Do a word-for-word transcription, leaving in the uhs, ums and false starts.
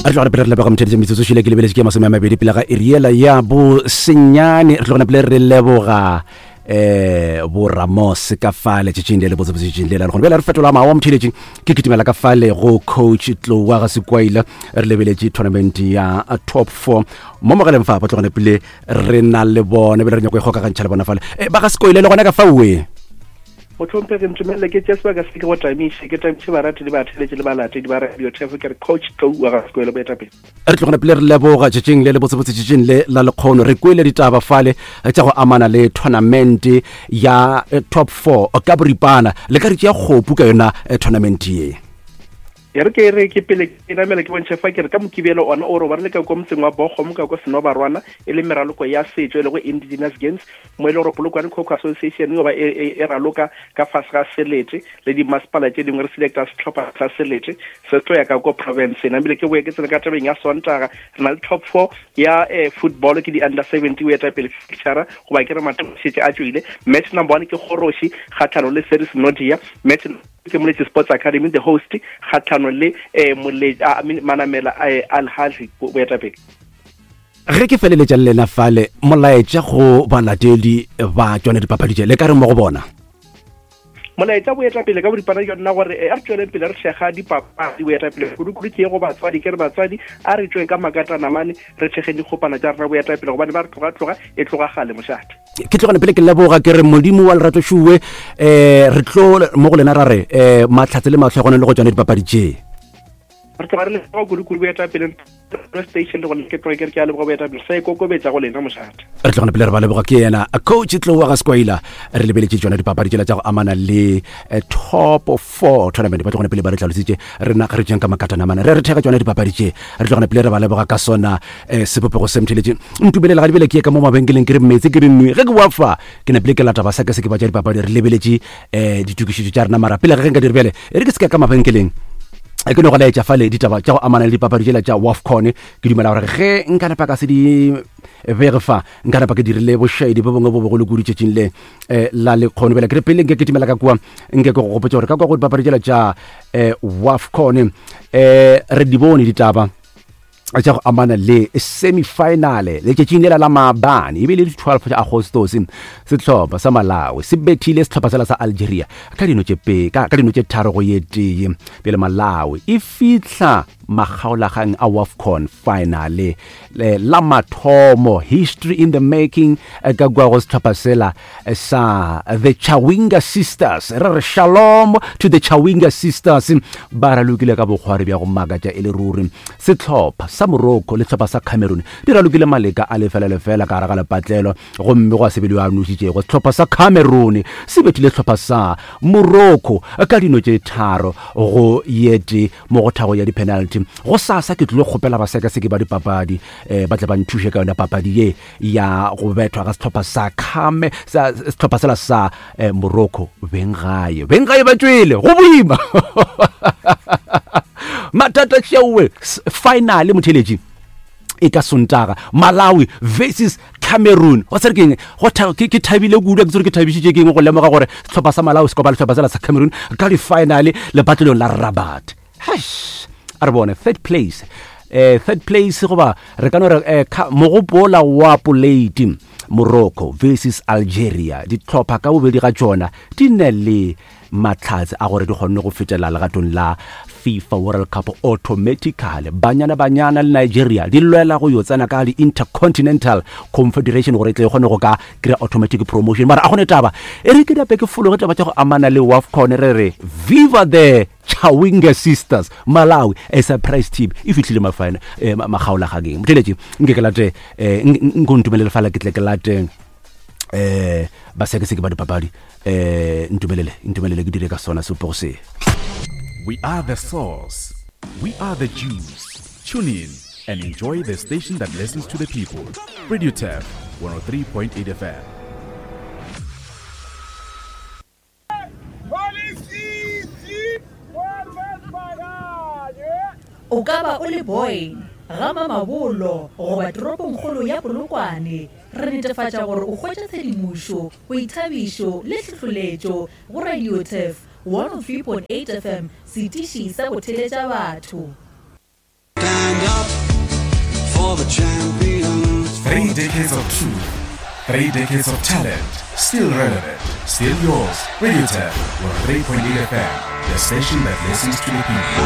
Re tloga pele re leboga motheletši metsotso šile ke lebeletše ke masome a mabedi pele ga iriela ya bosenyane. Re tloga pele re leboga eh bo Ramos ka fale tšatšing le le botsebotse tšatšing le la lekgono. Bjale re fetola mawa motheletši, ke kitimela ka fale go coach Tlowa ga Sekwaila. Re lebeletše tournament ya top four mo mogaleng fa ba tlogane pele re na le bone, bjale re nyako e kgokagantšha le bona fale. Eh, ba ga Sekwaila le gona ka faoe. Motlhomphegi, ntumelele ke tše sebaka se ke go tamiše, ke tamiše barati le batheletši le balatedi ba Radio Turf. Ke re coach Tlou wa ga Sekwele, boetapele. Re tlogana pele re leboga tšatšing le le botsebotse tšatšing le la lekgono. Re kwele ditaba fale tša go amana le tournament ya eh, top four ka boripana. Le ka re tšea kgopu ka yona eh, tournament ye? E re ke re ke pele ke namela ke bontšhe fa ke re ka Mokibelo ona o re ba re le ka kwa motseng wa Bokgomo ka kwa Senobarwana, e le meraloko ya setšo e lego Indigenous Games, mo e le gore Polokwane Coco Association yo ba e, e, e raloka ka fase ga selete le dimasepala tše dingwe. Re selecta sehlopha sa selete se tlo ya ka ko province. Namile ke boye ke tsene ka tabeng ya Sontaga, re na le top four ya eh, football, ke di-under seventy o eta pele fixture goba ke re matšetše a tšwile. Match number one ke Kgoroši kgatlhano le Series Nodia. Match ke Moletši Sports Academy, the host, kgatlhano le eh, Mole- ah, I mean, Manamela eh, Al Ahly, boetapele. Ge ke feleletša le lena fale, molaetša go balatedi ba tšone dipapadi tše, le ka re mo go bona? Molaetša, boetapele, ka boripana ke yona gore eh, a re tsweleng pele re thekga dipapadi, boetapele. Kudu-kudu ke ye go batswadi, ke re batswadi a re tsweng ka makatanamane re thekgeng dikgopana tša rena, boetapele, gobane ba re tloga-tloga e tloga gale mošate. Ke tlogane pele ke leboga, ke re Modimo wa lerato šuwe. um re tlo mo go lena ra re um mahlatse le matlhogone le go tšone dipapadi tše. Re tloga re leboga kudu-kudu, boetapele, station le gona ke tloge ke re ke a leboga, boetapele, sa ikokobetša go lena mošate. Re tlogane pele re ba leboga. Ke yena coach Tlowa ga Sekwaila. Re lebeletše tšona dipapadi tšela tša go amana le eh, top four tournament. Ba tlogane pele ba re tlhalositše rena re tšeng ka makatanamana re re theka tšona dipapadi tše. Re tlogane pele re ba leboga ka sona eh, sebopego se. Motheletše, ntumelela ga dibele ke ye ka mo mabenkeleng ke re metse ke re nwe. Ge ke boa fa ke napile ke lata ba sa ke se ke ba tša dipapadi. Re lebeletše um ditokišetšo tša rena, mara pele ge nka dire bjale, e re ke se ka ka mabenkeleng e ke no go laetša fale ditaba tša go amana le dipapadi tšela tša WAFCON. Ke dumela gore ge nka napa ka se di bege fa, nka napa ke dirile bošaedi bo bongwe bo bogolo kudu tšatšing le um la lekgono. Bjale ke re pele nke ke timela ka kua, nke ke go gopotša gore ka kua go dipapadi tšela tša um WAFCON um re di bone ditaba tša go amana le semifinale letšatšing lela la maabane, e be le di-twelve tša Agostos. Sehlopha sa Malawi se bethile sehlopha sela sa Algeria ka dino tše pe ka, ka dino tše tharo go ye tee. Pele Malawi e fihla makgaolagang a WAFCON finale le, la mathomo, history in the making eh, ka kua go sehlopha sela eh, sa the Chawinga Sisters. Re re shalom to the Chawinga Sisters, ba ralokile ka bokgwari bja go makatša e le ruri. Sehlopha sa Morocco le sehlopha sa Cameroon di ralokile maleka a lefela lefela ka gare ga lepatlelo, gomme go a se be le yo a nošitšego. Sehlopha sa Cameroon se bethile sehlopha sa Morocco ka dino tše tharo go ye tee mo go thago ya di-penalty. Go sasa ke tlilo kgopela basekaseki ba dipapadi um ba tle ba nthuše ka yona papadi ye ya go bethwa ga sehlopha sa Came sa sehlopha sela sa eh, Morocco. Beng gae, beng gae ba tšwele go boima mathata tšeowe. Finale, motheletši, e ka Sontaga, Malawi versus Cameroon. Wa tsere keng go tha- ke ke thabile kudu, ke tsere ke thabišitše keng go lemoga gore sehlopha sa Malawi se kopana le sehlopha sela sa Cameroon ka di-finale lepatlelong la Rabat. Heish, a re bone third place, eh third place goba re ka no re eh, kha- mogopola wa poleiti, Morocco versus Algeria. Dihlopha ka bobedi ga tšona di ne le mahlatse a gore di kgonne go fetela legatong la FIFA World Cup automatically. Banyana Banyana le Nigeria di lwela go yo tsena ka di-Intercontinental Confederation gore e tle e kgone go ka kry automatic promotion, mara a gone taba e re ke dape ke fologe taba tša go amana le WAFCON. Re re viva the Chawinga Sisters. Malawi, a surprise team, e fihlile mafine eh, makgaolagakeng. Motheletši, nke ke late eh, nko ntumelele fala ke tle ke late eh basekaseki ba dipapadi. eh ntumelele ntumelele ke dire ka sona sepego se. We are the source. We are the juice. Tune in and enjoy the station that listens to the people. Radio Turf one oh three point eight F M. O ka ba o le Boyne, ga Mamabolo goba toropongkgolo ya Polokwane, re netefatša gore o hwetša tshedimošo, boithabišo le tlhohloletšo go Radio Turf one oh three point eight F M, setiši sa go theletša batho. Stand up. decades of truth, three decades of talent, still relevant, still yours. Radio Tap, one three point eight F M, the station that listens to the people.